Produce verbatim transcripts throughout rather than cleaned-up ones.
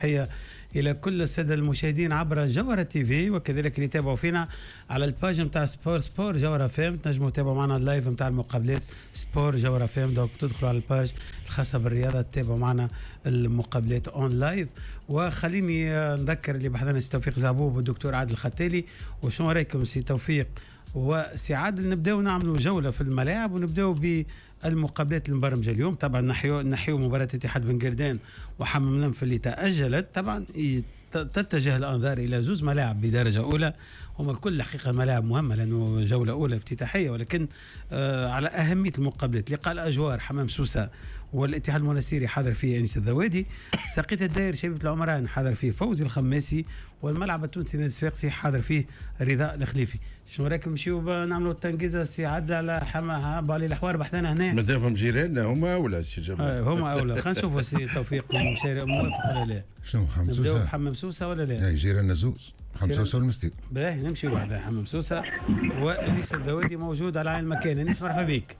تحية إلى كل السادة المشاهدين عبر جوهرة تي في، وكذلك اللي يتابعوا فينا على ال page نتاع sport sport جوهرة FM. تنجموا تتابعوا معنا ال live نتاع المقابلات sport جوهرة FM، donc تدخلوا على ال page الخاصة بالرياضة تتابعوا معنا المقابلات en live. وخليني نذكر اللي بحذانا سي توفيق زعبوب والدكتور عادل الختالي. وشنو رايكم سي توفيق وسي عادل، نبداو نعملوا جولة في الملاعب ونبداو ب المقابلات المبرمجه اليوم؟ طبعا نحيو نحيو مباراة اتحاد بن قردان وحمام الأنف اللي تاجلت. طبعا تتجه الانظار الى زوز ملاعب بدرجة اولى، هم الكل الحقيقة ملاعب مهمة لانه جولة اولى افتتاحيه، ولكن آه على اهمية المقابلات. لقاء الاجوار حمام سوسة والاتحاد المنستيري حاضر فيه انيس الذوادي، ساقية الداير شبيبة العمران حاضر فيه فوزي الخماسي، والملعب التونسي نادي الصفاقسي حاضر فيه رضا الخليفي. شنو رايكم نمشيو نعملوا التنقيزه سي عادل على حما بو علي الحوار بحذانا هنا؟ مادامهم جيراننا هما اولى سي جمال. آه هما اولى. خلينا نشوفوا سي توفيق موافق ولا لا. شنو حمام سوسة؟ نبداو بحمام سوسة ولا لا؟ اي جيراننا زوز، حمام سوسة والمستير. باهي نمشيو بحذا حمام سوسة، وانيس الذوادي موجود على عين المكان. انيس مرحبا بك.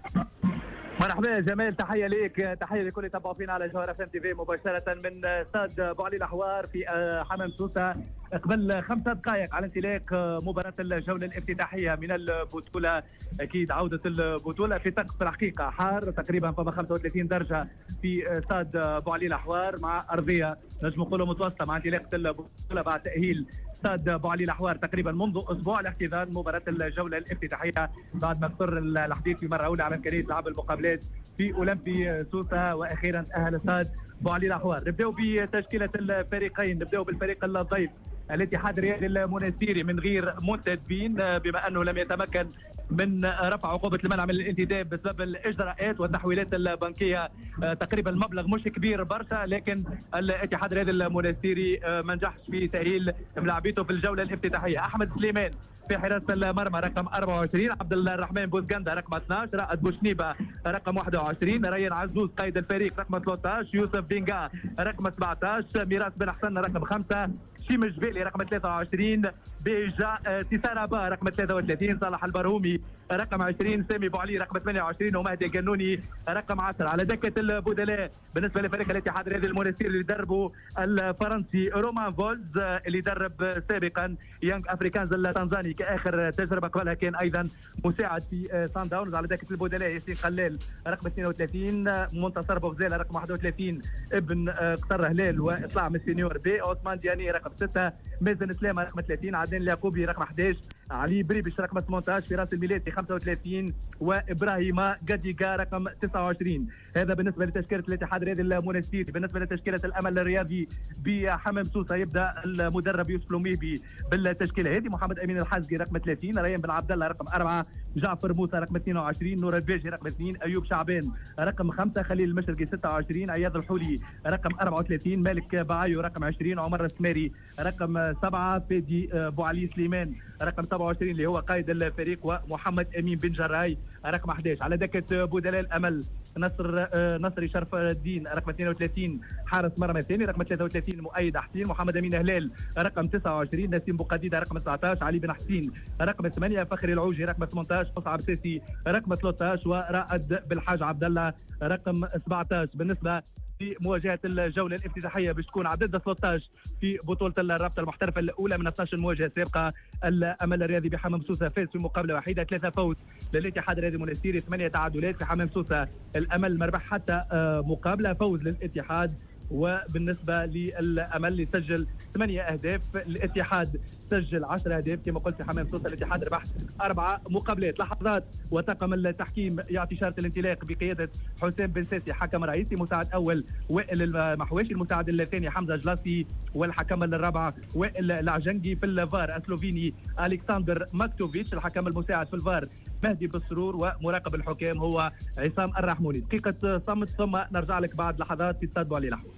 مرحبا يا جمال، تحية ليك، تحية لكل اللي تابعوا فينا على جوهرة FM TV مباشرة من استاد بوعلي الاحوار في حمام سوسة. قبل خمسة دقائق على انطلاق مباراة الجولة الافتتاحية من البطولة، أكيد عودة البطولة في طقس الحقيقة حار، تقريبا فما خمسة وثلاثين درجة في استاد بوعلي الأحوار، مع أرضية نجم نقولوا متوسطة مع انطلاقة البطولة بعد تأهيل استاد بوعلي الأحوار تقريبا منذ أسبوع لاحتضان مباراة الجولة الافتتاحية، بعد ما اضطر الحديث في مرة أولى على إمكانية لعب المقابلات في أولمبي سوسة، وأخيرا تأهل استاد بوعلي الأحوار. نبدأ بتشكيلة الفريقين، نبدأ بالفريق الضيف الاتحاد الرياضي المنستيري من غير منتدبين، بما انه لم يتمكن من رفع عقوبه المنع من الانتداب بسبب الاجراءات والتحويلات البنكية. تقريبا المبلغ مش كبير برشا، لكن الاتحاد الرياضي المنستيري ما نجحش في تاهيل ملاعبيته في الجولة الافتتاحيه. احمد سليمان في حراسة المرمى رقم أربعة وعشرين، عبد الرحمن بوزغندا رقم اثناش، رائد بوشنيبه رقم واحد وعشرين، ريان عزوز قائد الفريق رقم ثلاثة عشر، يوسف بينغا رقم سبعة عشر، ميراث بن حسن رقم خمسة، شيم الجبالي رقم ثلاثة وعشرين، بيجا تيسارابا رقم ثلاثة وثلاثين، صالح البرهومي رقم عشرين، سامي بوعلي رقم ثمانية وعشرين، ومهدي القنوني رقم عشرة. على دكة البدلاء بالنسبة لفريق الاتحاد الرياضي المنستيري اللي دربه الفرنسي رومان فولز، اللي درب سابقا يانغ افريكانز التنزاني كآخر تجربة، قبلها كان أيضا مساعد في سان داونز. على دكة البدلاء ياسين قلال رقم اثنين وثلاثين، منتصر بوغزالة رقم واحد وثلاثين، ابن قصر هلال واطلع من ال senior B، عثمان دياني رقم ستة، مازن سلامة رقم ثلاثين، عدنان اليعقوبي رقم أحد عشر، علي بريبش رقم ثمانية عشر، فراس الميلاتي خمسة وثلاثين، وابراهيم قديقا رقم تسعة وعشرين. هذا بالنسبة لتشكيله الاتحاد الرياضي المنستيري. بالنسبة لتشكيله الامل الرياضي بحمام سوسة يبدا المدرب يوسف لوميبي بالتشكيله هذه: محمد امين الحزقي رقم ثلاثين، ريان بن عبد الله رقم أربعة، جعفر موسى رقم اثنين وعشرين، نور الباجي رقم اثنين، ايوب شعبان رقم خمسة، خليل المشرقي ستة وعشرين، عياض الحولي رقم أربعة وثلاثين، مالك بعايو رقم عشرين، عمر السماري رقم سبعة، فادي بوعلي سليمان رقم سبعة وعشرين اللي هو قائد الفريق، ومحمد امين بن جراي رقم أحد عشر. على دكة بدلاء الامل نصر نصري شرف الدين رقم اثنين وثلاثين حارس مرمى الثاني، رقم ثلاثة وثلاثين مؤيد حسين، محمد امين هلال رقم تسعة وعشرين، نسيم بوقديده رقم تسعة عشر، علي بن حسين رقم ثمانية، فخري العوجي رقم ثمانية عشر، مصعب ساسي رقم ثلاثة عشر، ورائد بالحاج عبد الله رقم سبعة عشر. بالنسبة في مواجهة الجولة الافتتاحيه باش تكون عدد ثلاثة عشر في بطوله الرابطة المحترفه الاولى من اثناش مواجهة سابقه. الامل الرياضي بحمام سوسة فاز في مقابله وحيده، ثلاثة فوز للاتحاد الرياضي المنستيري، ثمانية تعادلات في حمام سوسة. الامل ما ربح حتى مقابله، فوز للاتحاد. وبالنسبة للامل سجل ثمانية اهداف، الاتحاد سجل عشرة اهداف. كما قلت في حمام سوسة الاتحاد ربح اربعة مقابلات. لحظات وطاقم التحكيم يعطي شارة الانطلاق بقيادة حسام بن ساسي حكم رئيسي، مساعد اول وائل المحواشي، المساعد الثاني حمزة جلاسي، والحكم الرابع وائل العجنجي. في الفار السلوفيني الكسندر ماكتوفيتش، الحكم المساعد في الفار مهدي بالسرور، ومراقب الحكام هو عصام الرحموني. دقيقة صمت ثم نرجع لك بعد لحظات في استاد بوعلي الأحوار.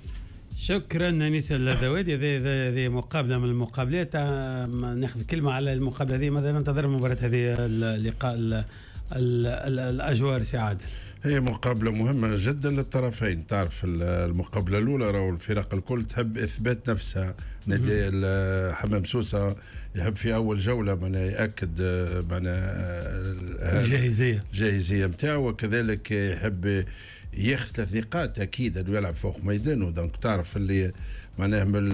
شكرا انيس الذوادي. هذه هذه مقابله من المقابلات، ناخذ كلمة على المقابلة هذه. ماذا ننتظر من مباراة هذه اللقاء ال ال ال الاجوار سي عادل؟ هي مقابله مهمة جدا للطرفين. تعرف المقابلة الاولى راهو الفرق الكل تحب اثبات نفسها. نادي حمام سوسة يحب في اول جولة معناها ياكد معناها الجاهزيه الجاهزيه نتاعو، وكذلك يحب ياخذ ثلاث نقاط، اكيد انه يلعب فوق ميدانه، donc تعرف اللي معناها من